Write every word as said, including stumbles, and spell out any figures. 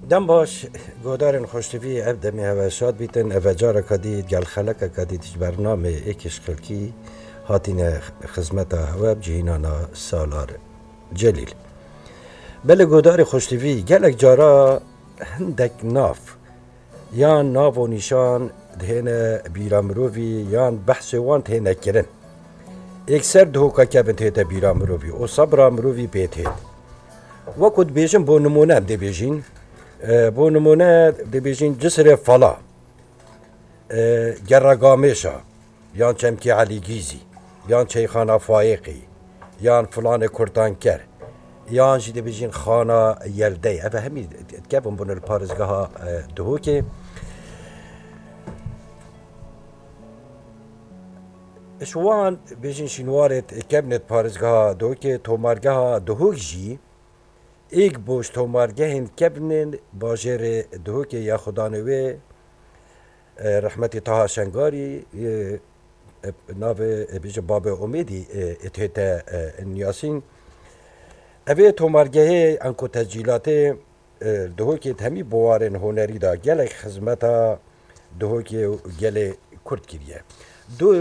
Dem baş, godarên xoştivî, ev demê hewe şad bîtin. Ev e careka dî, gel xelekeka dî ji bernamê Êkê ji Xelkî hatîne xizmeta hewe bi cihînana Salar Celîl. Belê godarê xoştivî, gelek cara hindek nav yan nav û nîşan dihêne bîra mirovî yan behsê wan dihêne kirin. Êkser dihoka kevin tête bîra mirovî û sebra mirovî pê têt. Wekû dibêjin, bo nimûne em dê bêjîn, e, bo nimûne dê bêjîn Cisirê Fala, e, Gerra Gamêşa, yan Çemkê Elî Gîzî, yan Çeyxana Fayêqî, yan Filanê Kurtanker, yan jî dê bêjîn Xana Yeldey. Ev hemî dikevin bûne li parêzgeha, e, Duhokê. Ji wan bêjin şînwarê kevnê parêzgeha Duhokê, tomargeha Duhok jî êk boş tomargehên kevnên bajêrê Duhokê ya xudanê wê, e, rehmetî Taha Şengarî, e, e, navê, e, bêje Babê Omêdî, e, ê tête, e, niyasîn. Evê tomargehê enko tescîlatê, e, Duhokê hemî buwarên hunerî de gelek xizmeta Duhokê û gelê Kurd kiriye. Du